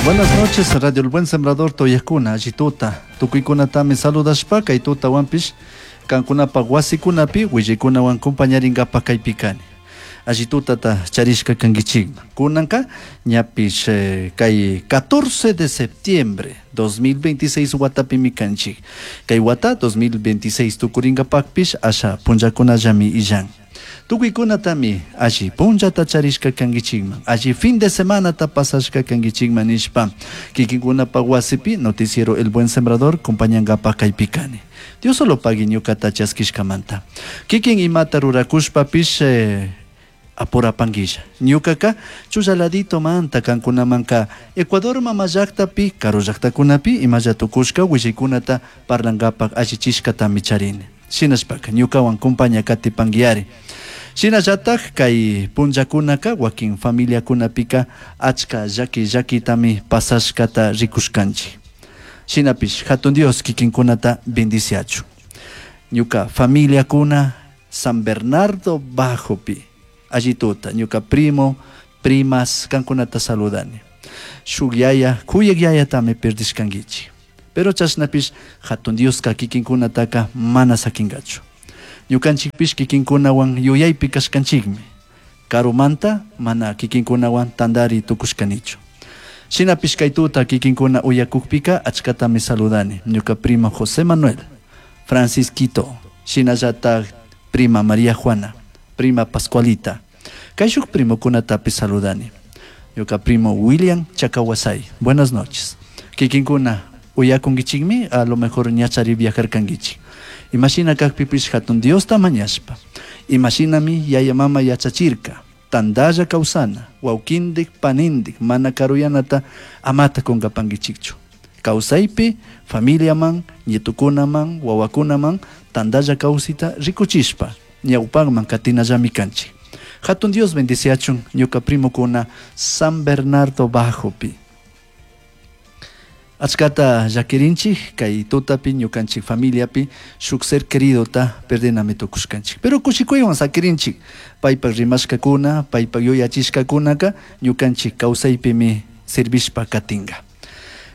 Buenas noches, Radio El Buen Sembrador Toyakuna, allituta. Tukuykunatami saludashpa kay tutawanpish kankunapaj wasikunapi willaykunawan compañaringapaj kaypi kani. Allitutata charishka kankichikman. Kunanka ñapish kay 14 de septiembre 2026 watapimi kanchik. Kay wata 2026 tukuringapakpish asha punllakunallami illan. Tukuykunatami alli punllata charishka kankichikman, alli fin de semanata pasashka kankichikman nishpa kikinkunapaj wasipi noticiero El Buen Sembrador compañangapaj kaypi kani. Dios solo pagui ñukata chaskishkamanta. Kikin imata rurakushpapish apurapanguilla. Ñukaka chullaladito manta kankunamanka Ecuador mama llaktapi karu llaktakunapi imalla tukushka willaykunata parlangapaj allichishkatami charini. Shinashpaka ñukawan compaña katipanguiari. Shinallataj kay punllakunaka wakin familiakunapika achka llaki llakitami pasashkata rikushkanchik. Shinapish hatun Dios kikinkunata bendiciachun. Ñuka familiakuna San Bernardo Bajopi allituta ñuka primo, primas kankunata saludani. Shuk yaya, kuyak yayatami perdishkankichik. Pero chashnapish hatun Dioska kikinkunataka mana sakinkachu. Ñukanchikpish kikinkunawan yuyaypi kashkanchikmi. Karumanta mana kikinkunawan tandari tukushkanichu. Shinapish kay tuta kikinkuna uyakukpika achkatami saludani. Ñuka primo José Manuel, Francisquito, shinallatak prima María Juana, prima Pascualita. Kayshuk primokunatapish saludani. Ñuka primo William Chacawasay. Buenas noches. Kikinkuna uyakunkichikmi, a lo mejor ñachari viajarkankichik. Imashina kakpipish hatun Diosta mañashpa. Imashinami yaya mama yachachirka. Tandalla kawsana, wawkindik, panindik, mana karuyanata amata kunkapankichikchu. Kawsaypi, familiaman, nietukunaman, wawakunaman, tandalla kawsita rikuchishpa, ñawpakman katinallami kanchik. Hatun Dios bendiciachun ñuka primokuna San Bernardo Bajopi. Achkata llakirinchik kay tutapi ñukanchik familiapi shuk ser queridota perdinami tukushkanchik. Pero kushikuywan sakirinchik paypak rimashkakuna, paypak yuyachishkakunaka ñukanchik kawsaypimi servishpa katinka.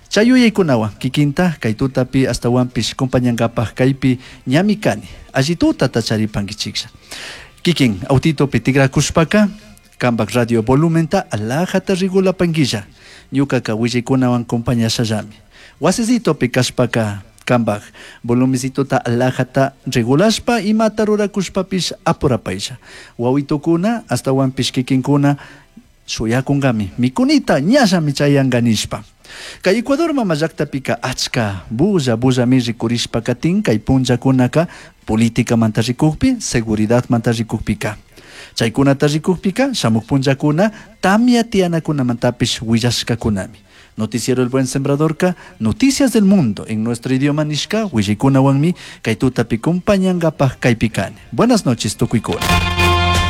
Chay yuyaykunawan kikinta kay tutapi astawanpish compañankapaj kaypi ñami kani. Alli tutata charipankichiklla. Kikin autitopi tikrakushpaka kampak radio volumenta alajata regulapanquilla. Ñukaka willaykunawan compañashallami. Wasisitopi kashpaka kampak volumecitota alajata regulashpa imata rurakushpapish apurapaylla. Wawitukuna astawanpish kikinkuna shuyakunkami mikunita ñallami chayanka nishpa. Kay Ecuador mama llaktapika achka bulla bullami rikurishpa katin kay punllakunaka políticamanta rikukpi, seguridadmanta rikukpika. Chaykunata rikukpika shamuk punllakuna tamya tiyanakunamantapish willashkakunami. Noticiero El Buen Sembradorka, Noticias del Mundo en nuestro idioma nishka willaykunawanmi kay tutapi compañankapaj kaypi kani. Buenas noches tukuykuna.